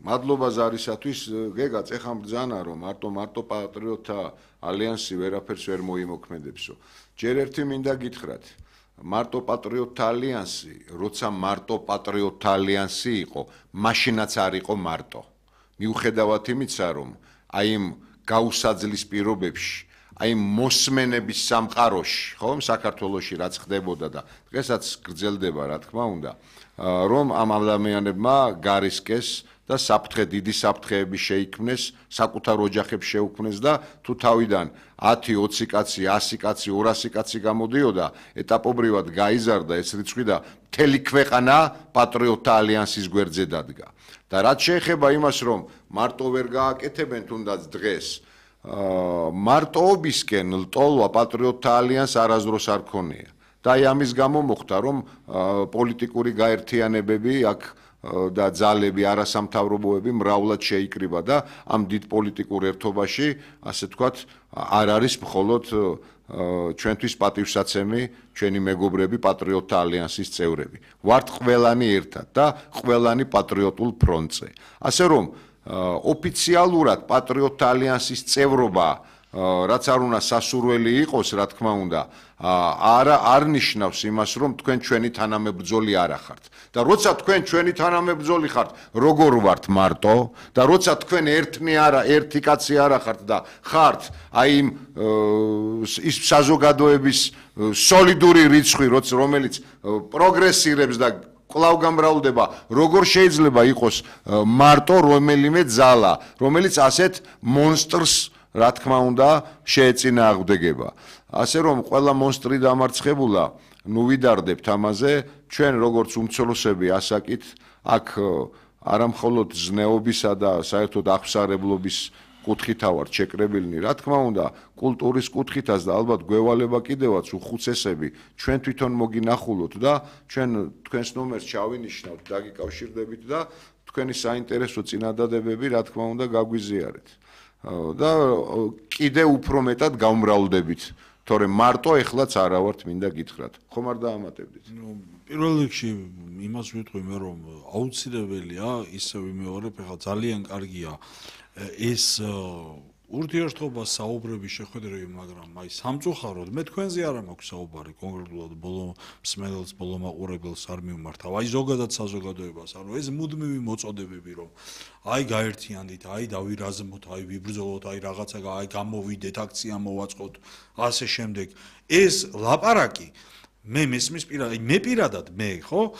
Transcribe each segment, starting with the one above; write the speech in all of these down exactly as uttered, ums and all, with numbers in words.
მადლობა ზარისათვის, გეგაც ეხლა ბრძანა რომ მარტო მარტო პატრიოტთა ალიანსი ვერაფერს ვერ მოიმოქმედებსო. ჯერ ერთი მინდა გითხრათ, მარტო პატრიოტთა ალიანსი, როცა მარტო პატრიოტთა ალიანსი იყო, მაშინაც არ იყო მარტო. მიუხედავად იმისა, რომ აი იმ გაუსაძლის პირობებში, აი მოსმენების სამყაროში, ხო, საქართველოში რაც ხდებოდა და დღესაც გრძელდება, რა თქმა უნდა, რომ ამ ადამიანებმა გარისკეს და საფრთხე დიდი საფრთხეები შეიქმნეს, საკუთარ ოჯახებს შეუქმნეს და თუ თავიდან ათი ოცი კაცი, ასი კაცი, ორასი კაცი გამოდიოდა, ეტაპობრივად გაიზარდა ეს რიცხვი და მთელი ქვეყანა პატრიოტთა ალიანსის გვერდზე დადგა. და რაც შეეხება იმას, რომ მარტო ვერ გააკეთებენ თუნდაც დღეს, მარტოობისკენ ლტოლვა პატრიოტთა ალიანსს არასდროს არ ქონია. და აი ამის გამო მოხდა, რომ პოლიტიკური გაერთიანებები აქ და ძალები, არასამთავრობოები მრავლად შეიკრიბა და ამ დიდ პოლიტიკურ ერთობაში, ასე ვთქვათ, არ არის მხოლოდ ჩვენთვის პატივსაცემი ჩვენი მეგობრები პატრიოტთა ალიანსის წევრები. ვართ ყველანი ერთად და ყველანი პატრიოტულ ფრონტზე. ასე რომ ოფიციალურად პატრიოტთა ალიანსის წევრობა რაც არ უნდა სასურველი იყოს, რა თქმა უნდა, არ არ ნიშნავს იმას, რომ თქვენ ჩვენი თანამებრძოლი არ ახართ. და როცა თქვენ ჩვენი თანამებრძოლი ხართ, როგორ ვართ მარტო და როცა თქვენ ერთნი არა, ერთი კაცი არ ახართ და ხართ აი იმ ის საზოგადოების სოლიდური რიცხვი, რომელიც პროგრესირებს და კვლავ გამრავლდება, როგორ შეიძლება იყოს მარტო რომელიმე ძალა, რომელიც ასეთ მონსტრს რა თქმა უნდა შეეწინააღმდეგება. ასე რომ ყველა მონსტრი დამარცხებულა, ნუ ვიდარდებთ ამაზე, ჩვენ როგორც უმცროსები ასაკით, აქ არამხოლოდ ზნეობისა და საერთოდ აღსარებლობის კუთხითა ვართ შეკრებილნი, რა თქმა უნდა, კულტურის კუთხითაც და ალბათ გვევალება კიდევაც უხუცესები ჩვენ თვითონ მოგინახულოთ და ჩვენ თქვენს ნომერს ჩავინიშნავთ, დაგიკავშირდებით და თქვენი საინტერესო წინადადებები, რა თქმა უნდა, გაგვიზიარეთ. და კიდე უფრო მეტად გამრავლდებით, თორემ მარტო ეხლაც არა ვართ, მინდა გითხრათ. ხომ არ დაამატებდით? პირველ რიგში იმას ვიტყვი მე, რომ აუცილებელია ისე ვიმეორებ, ეხლა ძალიან კარგია ეს ურთიერთობა საუბრები შეხვედრები, მაგრამ აი სამწუხაროდ მე თქვენზე არ მაქვს საუბარი კონკრეტულად ბოლო მსმენელს, ბოლო მაყურებელს არ მიმართავ. აი ზოგადად საზოგადოებას, ანუ ეს მუდმივი მოწოდებები, რომ აი გაერთიანდით, აი დავირაზმოთ, აი ვიბრძოლოთ, აი რაღაცა აი გამოვიდეთ, აქცია მოვაწყოთ, ასე შემდეგ. ეს ლაპარაკი მე მესმის პირადად, მე პირადად მე, ხო,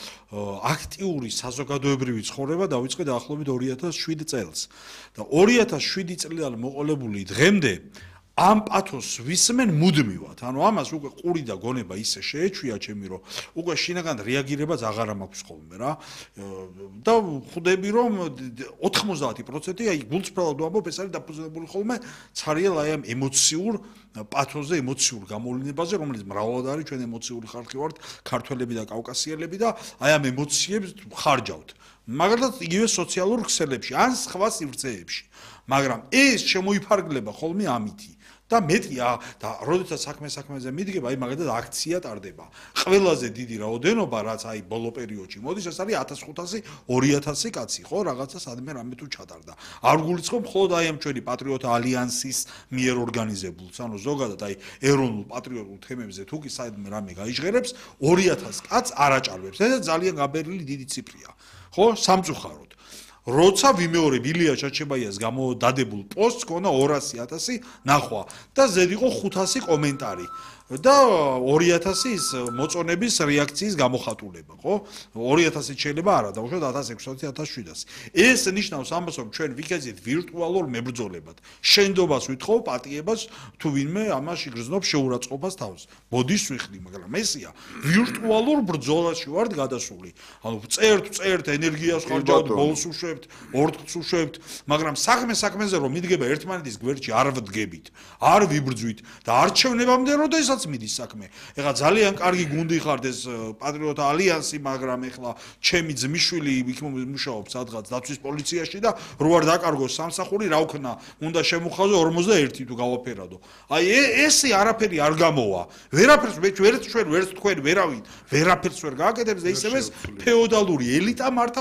აქტიური საზოგადოებრივი ცხოვრება დავიწყე დაახლოებით ორი ათას შვიდ წელს. და ორი ათას შვიდი წლიდან მოყოლებული დღემდე ამ პათოსს ვისმენ მუდმივად. ანუ ამას უკვე ყური და გონება ისე შეეჩვია ჩემი, რომ უკვე შინაგან რეაგირებაც აღარ მაქვს ხოლმე რა. და ხვდები რომ ოთხმოცდაათი პროცენტი აი გულწრფელად ვამბობ, ეს არის დაფუძნებული ხოლმე ცარიელ აი ამ ემოციურ პათოსზე, ემოციურ გამოვლენებაზე, რომელიც მრავლად არის ჩვენ ემოციური ხალხი ვართ, ქართველები და კავკასიელები და აი ამ ემოციებს ხარჯავთ. მაგალითად იგივე სოციალურ ქსელებში, ან სხვა სივრცეებში. მაგრამ ეს შემოიფარგლება ხოლმე ამითი. და მეტია და როდესაც საქმე საქმეზე მიდგება, აი მაგალითად აქცია ტარდება. ყველაზე დიდი რაოდენობა, რაც აი ბოლო პერიოდში მოდის, ეს არის ათას ხუთასი, ორი ათასი კაცი, ხო, რაღაცა სადმე რამე თუ ჩატარდა. არ გულისხმობ მხოლოდ აი ამ ჩვენი პატრიოტთა ალიანსის მიერ ორგანიზებულს, ანუ ზოგადად აი ეროვნულ პატრიოტულ თემებზე თუ კი სადმე რამე გაიჟღერებს, ორი ათას კაცს არ აჭარბებს. ეს ძალიან გაბერილი დიდი ციფრია. ხო, სამწუხაროდ. როცა ვიმეორებ ილია ჩაჩებაიას გამოდადებულ პოსტს ქონა ორასი ათასი ნახვა და ზედ იყო ხუთასი კომენტარი და ორი ათასი ის მოწონების რეაქციის გამოხატულება, ხო? ორი ათასი შეიძლება არა, დავუშვათ ათას ექვსმოცდაათი ათას შვიდასი. ეს ნიშნავს ამას, რომ ჩვენ ვიქეძით ვირტუალურ მებრძოლებად. შენდობას ვითხოვ, პატიებას, თუ ვინმე ამას იგრძნობს შეურაცხყოფას თავს. ბოდის ვიხდი, მაგრამ ესია ვირტუალურ ბრძოლაში ვართ გადასული. ანუ წერთ, წერთ, ენერგიას ხარჯავთ, ბოლოს უშვებთ, ორთქლს უშვებთ, მაგრამ საქმე საქმეზე რომ მიდგება ერთმანეთის გვერდში არ ვდგებით, არ ვიბრძვით და არჩევნებამდე როდესაც მიდის საქმე. ეხლა ძალიან კარგი გუნდი ხართ ეს პატრიოტთა ალიანსი, მაგრამ ეხლა ჩემი ძმისშვილი იქ მუშაობს სადღაც დაცვის პოლიციაში და რო არ დაკარგოს სამსახური, რა ვქნა, უნდა შემოხაზო ორმოცდაერთი თუ გავაფერადო. აი ესე არაფერი არ გამოვა. ვერაფერს ვერც ჩვენ ვერც თქვენ ვერავინ ვერაფერს ვერ გააკეთებს და ისევ ეს ფეოდალური ელიტა მართავს